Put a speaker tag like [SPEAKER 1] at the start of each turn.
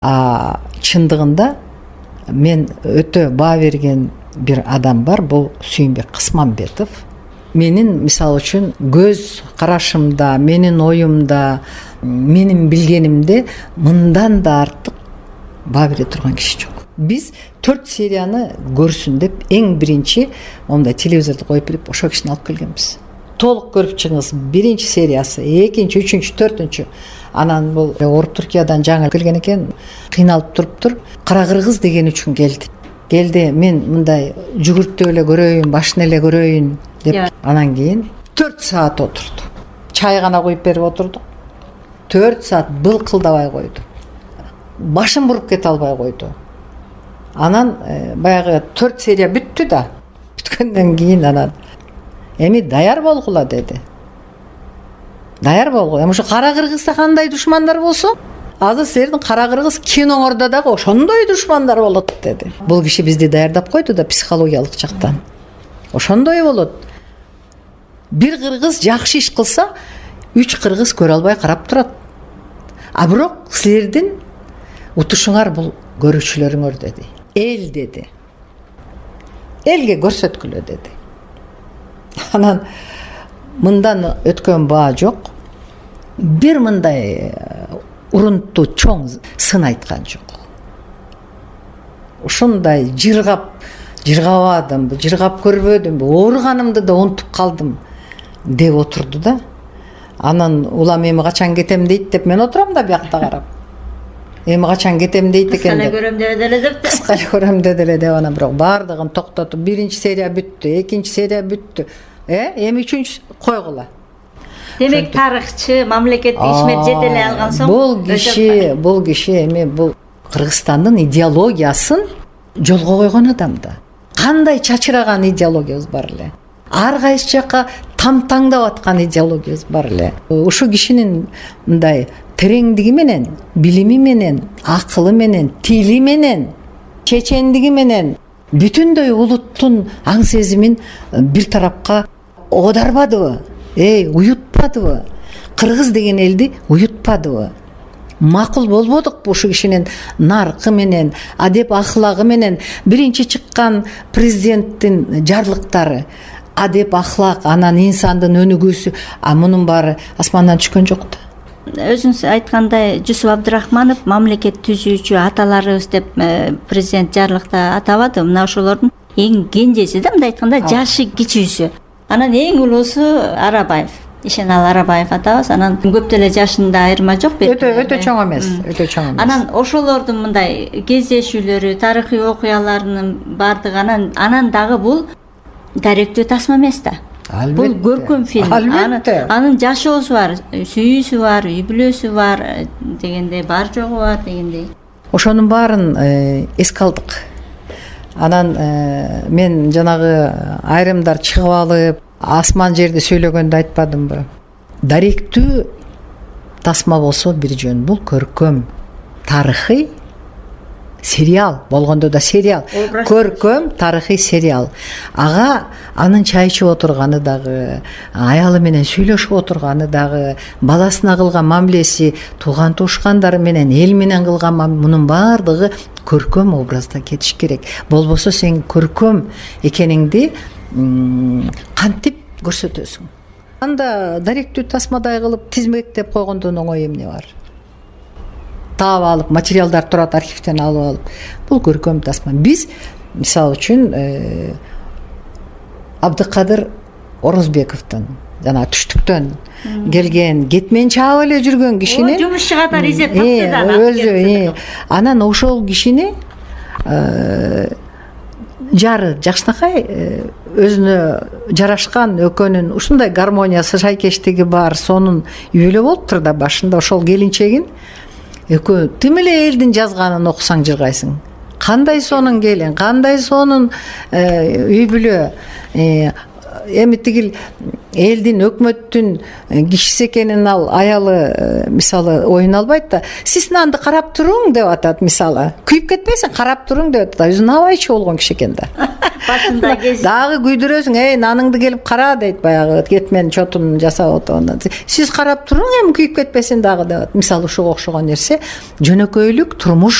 [SPEAKER 1] Чындыгында мен өтө баа берген бир адам бар, бул Сүйүнбек Кысманбетов. Менин мисалы үчүн көз карашымда, менин оюмда, менин билгенимде мындан да артык баа бере турган киши жок. Биз 4 серияны көрсүн деп эң биринчи мондай телевизорду коюп берип ошо кишини алып келгенбиз. Толук көрүп чыгыңыз. 1 сериясы, 2, 3, 4. Анан бул Орус Түркиядан жаңы келген экен, кыйналып туруптур. Кара кыргыз деген үчүн келди. Мен мындай жүгүртүп эле көрөйүн, башын эле көрөйүн деп. Анан кийин 4 саат отурду. Чай гана куюп берип отурдук. 4 саат былкылдабай койду. Башын буруп кете албай койду. Анан баягы 4 серия бүттү да. Бүткөндөн кийин анан эми даяр болгула деди. Даяр болгула. Ушу кара кыргызда кандай душмандар болсо, азыр силердин кара кыргыз киноңордо дагы ошондой душмандар болот деди. Бул киши бизди даярдап койду да психологиялык жактан. Ошондой болот. Бир кыргыз жакшы иш кылса, 3 кыргыз көрө албай карап турат. Бирок силердин утушуңар бул көрүүчүлөрүңөр деди. Эл деди. Элге көрсөткүлө деди. Анан мындан өткөн баа жок. Бир мындай урунтуу чоң сын айткан жок. Ушундай жыргабадымбы, жыргап көрбөдүмбү, ооруганымды да унутуп калдым деп отурду да. Анан улам эми качан кетем дейт деп мен отурам да биякта карап. Эми качан кетем дейт экен деп. Кыска эле көрөм деди эле деп анан бирок баардыгын токтотуп 1 серия бүттү, 2 серия бүттү. Эми 3 койгула.
[SPEAKER 2] Демек тарыхчы, мамлекетти ишмер жете эле алган соң
[SPEAKER 1] бул киши эми бул Кыргызстандын идеологиясын жолго койгон адам да. Кандай чачыраган идеологиябыз бар эле. Ар кайсы жакка тамтаңдап аткан идеологиябыз бар эле. Ушу кишинин мындай тереңдиги менен, билими менен, акылы менен, тили менен, чечендиги менен бүтүндөй улуттун аң сезимин бир тарапка оодарбадыбы? Уютпадыбы? Кыргыз деген элди уютпадыбы? Макул болбодукпу ушу кишинин наркы менен, адеп ахлагы менен? Биринчи чыккан президенттин жарлыктары адеп ахлак, анан инсандын өнүгүүсү, мунун баары асмандан түшкөн жок да.
[SPEAKER 2] Өзүңүз айткандай, Жусуп Абдрахманов мамлекет түзүүчү аталарыбыз деп президент жарлыкта атабады. Мына ошолордун эң кенжеси да, мындай айтканда жашы кичүүсү. Анан эң улуусу Арабаев. Ишенал Арабаев атабыз. Анан көп деле жашында айырма жок.
[SPEAKER 1] Өтө чоң эмес, өтө чоң эмес.
[SPEAKER 2] Анан ошолордун мындай кездешүүлөрү, тарыхый окуяларынын бардыгы анан дагы бул даректүү тасма эмес да. Бул көркөм фильм. Анын жашоосу бар, сүйүүсү бар, үй бүлөсү бар дегендей, бар жогу бар дегендей.
[SPEAKER 1] Ошонун баарын эске алдык. Анан мен жанагы айрымдар чыгып алып, асман жерди сүйлөгөндө айтпадымбы? Даректүү тасма болсо бир жөн, бул көркөм, тарыхый сериал болгондо да сериал, көркөм тарыхый сериал. Ага анын чай ичип отурганы дагы, аялы менен сүйлөшүп отурганы дагы, баласына кылган мамилеси, тууган туушкандары менен, эл менен кылган мунун баардыгы көркөм образда кетиш керек. Болбосо сен көркөм экениңди кантип көрсөтөсүң? Анда даректүү тасмадай кылып тизмектеп койгондон оңой эмне бар? Таап алып, материалдар турат, архивден алып алып. Бул көркөм тасма. Биз, мисалы үчүн, Абдыкадыр Орозбековдун, жана түштүктөн келген, кетмен чаап эле жүргөн кишини,
[SPEAKER 2] жумушчу катары изеп тапты.
[SPEAKER 1] Анан ошол кишини жары Жакшынакай өзүнө жарашкан экөөнүн ушундай гармониясы, шайкештиги бар, сонун үй бүлө болуптур да башында. Ошол келинчегин экөө тим эле элдин жазганын окусаң жыргайсың. Кандай сонун келин, кандай сонун үй бүлө. Эми тигил элдин, өкмөттүн кишиси экенин ал аялы мисалы оюн албайт да. Сиз нанды карап туруң деп атат мисалы. Күйүп кетпейсиң, карап туруң деп атат. Өзү набайчы болгон киши экен да.
[SPEAKER 2] башында
[SPEAKER 1] дагы күйдүрөсүң, наныңды келип кара дейт, баягы кетмен чотун жасап отогонда. Сиз карап туруң, эми күйүп кетпесин дагы деп. Мисалы ушуга окшогон нерсе жөнөкөйлүк турмуш